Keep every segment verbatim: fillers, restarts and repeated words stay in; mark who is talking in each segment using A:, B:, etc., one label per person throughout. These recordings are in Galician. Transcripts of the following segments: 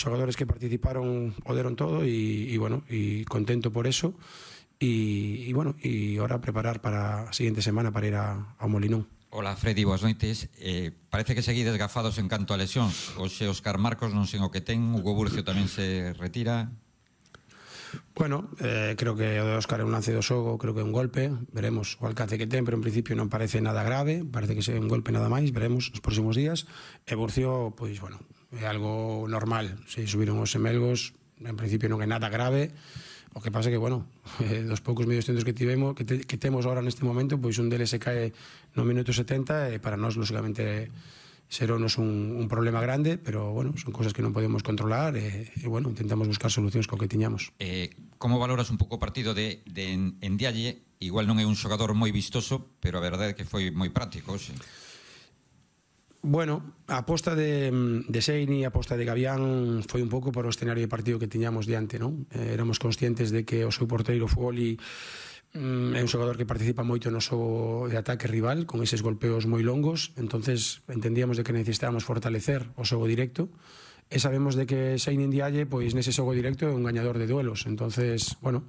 A: xogadores que participaron o deron todo e, e bueno, e contento por eso e, e bueno, e ahora preparar para a seguinte semana para ir a, ao Molinón.
B: Hola Freddy, boas noites. Eh, parece que seguides gafados en canto a lesións. Hoxe Óscar Marcos non sen o que ten, Hugo Burcio tamén se retira.
A: Bueno, eh, creo que o de Óscar é un lance do xogo, creo que é un golpe, veremos o alcance que ten, pero en principio non parece nada grave, parece que é un golpe nada máis, veremos nos próximos días. E Burcio, pois, bueno, é algo normal, se subiron os semelgos, en principio non é nada grave. O que pasa é que, bueno, eh, dos poucos medios centros que tivemos, que, te, que temos ahora neste momento, pois un deles se cae no minuto setenta e para nós, lógicamente, seronos un, un problema grande, pero, bueno, son cosas que non podemos controlar e, e bueno, intentamos buscar solucións co que tiñamos.
B: Eh, como valoras un pouco o partido de, de en, en Dialle? Igual non é un xogador moi vistoso, pero a verdade é que foi moi práctico, xe.
A: Bueno, a aposta de, de Seini, a aposta de Gavián foi un pouco por o escenario de partido que tiñamos diante, non? Eh, éramos conscientes de que o seu porteiro Fogoli mm, é un xogador que participa moito no xogo de ataque rival, con eses golpeos moi longos, entonces entendíamos de que necesitábamos fortalecer o xogo directo, e sabemos de que Seini Ndiaye, pois nese xogo directo é un gañador de duelos, entonces, bueno,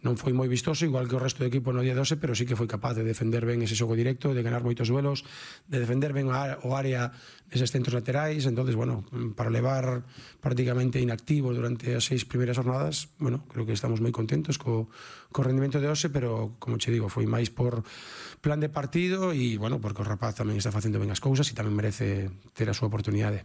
A: non foi moi vistoso, igual que o resto do equipo no día doce, pero sí que foi capaz de defender ben ese xogo directo, de ganar moitos duelos, de defender ben o área neses centros laterais. Entonces, bueno, para levar prácticamente inactivo durante as seis primeiras jornadas, bueno, creo que estamos moi contentos co, co rendimento de hoxe, pero, como che digo, foi máis por plan de partido e, bueno, porque o rapaz tamén está facendo ben as cousas e tamén merece ter a súa oportunidade.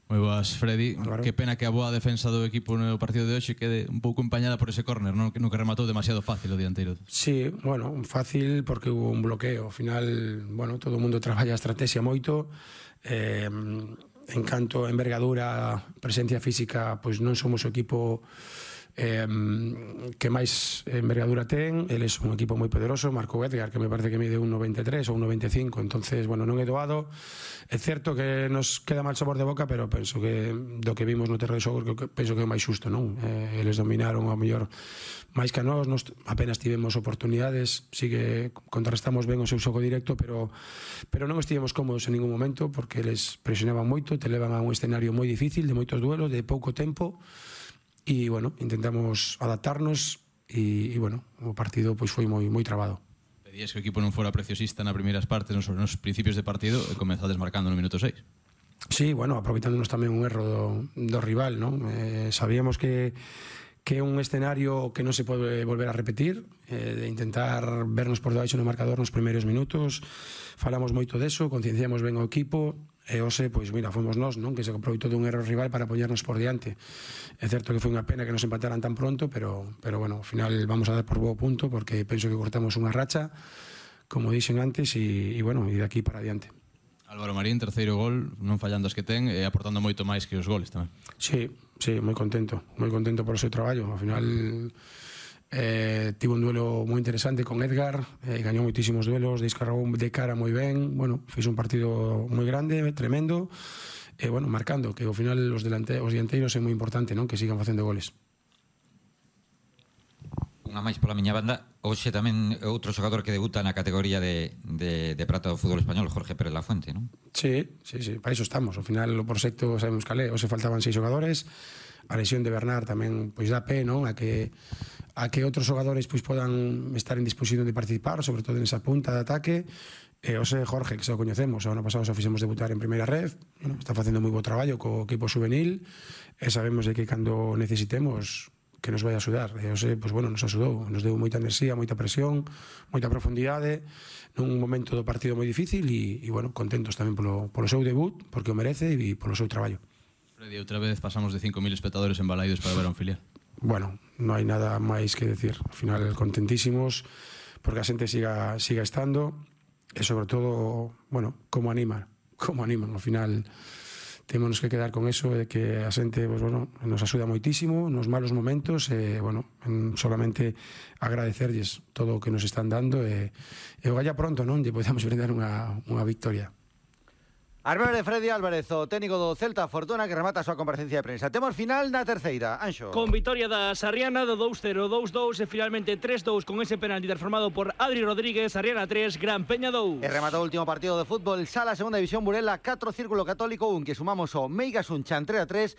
C: Moi boas, Freddy.
A: Claro.
C: Que pena que a boa defensa do equipo no partido de hoxe quede un pouco empañada por ese córner, non? No que rematou demasiado fácil o dianteiro.
A: Sí, bueno, fácil porque hubo un bloqueo. Ao final, bueno, todo o mundo traballa a estrategia moito. Eh, en canto a envergadura, presencia física, pois non somos o equipo eh, que máis envergadura ten. Eles un equipo moi poderoso, Marco Edgar, que me parece que mide un noventa e tres ou un noventa e cinco, entonces, bueno, non é doado. É certo que nos queda mal sabor de boca, pero penso que do que vimos no terreno de xogo, que penso que é máis xusto, non? Eh, eles dominaron ao mellor máis que a nós, nos apenas tivemos oportunidades, sí que contrarrestamos ben o seu xogo directo, pero pero non estivemos cómodos en ningún momento, porque eles presionaban moito, te levan a un escenario moi difícil, de moitos duelos, de pouco tempo. E, bueno, intentamos adaptarnos e, e bueno, o partido pois foi moi moi trabado.
C: Pedías que o equipo non fora preciosista na primeiras partes, nos, nos principios de partido, e comezades marcando no minuto seis.
A: Sí, bueno, aproveitándonos tamén un erro do, do rival, non? Eh, sabíamos que que é un escenario que non se pode volver a repetir, eh, de intentar vernos por debaixo no marcador nos primeiros minutos. Falamos moito deso, concienciamos ben o equipo, e hoxe, pois mira, fomos nós, non? Que se aproveitou dun erro rival para poñernos por diante. É certo que foi unha pena que nos empataran tan pronto, pero, pero bueno, ao final vamos a dar por bo punto, porque penso que cortamos unha racha, como dixen antes, e, e bueno, e de aquí para adiante.
C: Álvaro Marín, terceiro gol, non fallando as que ten e aportando moito máis que os goles tamén.
A: Sí, sí, moi contento, moi contento por o seu traballo. Ao final eh, tivo un duelo moi interesante con Edgar, eh, gañou moitísimos duelos, descargou de cara moi ben, bueno, fez un partido moi grande, tremendo, e bueno, marcando, que ao final os, delante, os dianteiros é moi importante, non? Que sigan facendo goles.
B: Unha máis pola miña banda, hoxe tamén outro xogador que debuta na categoría de, de, de prata do fútbol español, Jorge Pérez Lafuente, non?
A: Sí, sí, sí, para iso estamos. Ao final o proxecto sabemos calé, hoxe faltaban seis xogadores, a lesión de Bernard tamén pois dá pé, non? A que a que outros xogadores pois podan estar en disposición de participar, sobre todo nesa punta de ataque. E hoxe Jorge, que xa o coñecemos, o ano pasado xa fixemos debutar en primeira red, bueno, está facendo moi bo traballo co equipo juvenil, e sabemos de que cando necesitemos que nos vai a axudar. E hoxe, pois, bueno, nos axudou, nos deu moita enerxía, moita presión, moita profundidade, nun momento do partido moi difícil e, e bueno, contentos tamén polo, polo seu debut, porque o merece e polo seu traballo.
C: Freddy, outra vez pasamos de cinco mil espectadores en Balaidos para ver a un filial.
A: Bueno, non hai nada máis que decir. Ao final, contentísimos, porque a xente siga, siga estando, e sobre todo, bueno, como animan, como animan, ao final temos que quedar con eso de que a xente, pues, bueno, nos axuda moitísimo nos malos momentos e, bueno, solamente agradecerlles todo o que nos están dando e, e o galla pronto, non? Lle podemos brindar unha, unha victoria.
D: As breves de Freddy Álvarez, o técnico do Celta Fortuna, que remata a súa comparecencia de prensa. Temos final na terceira, Anxo.
E: Con vitoria da Sarriana do dous cero, dous dous e finalmente tres dous con ese penalti transformado por Adri Rodríguez. Sarriana tres, Gran Peña dous.
D: E rematou o último partido de fútbol Sala, segunda división, Burela catro, Círculo Católico un, que sumamos o Meigas un Chantre a tres.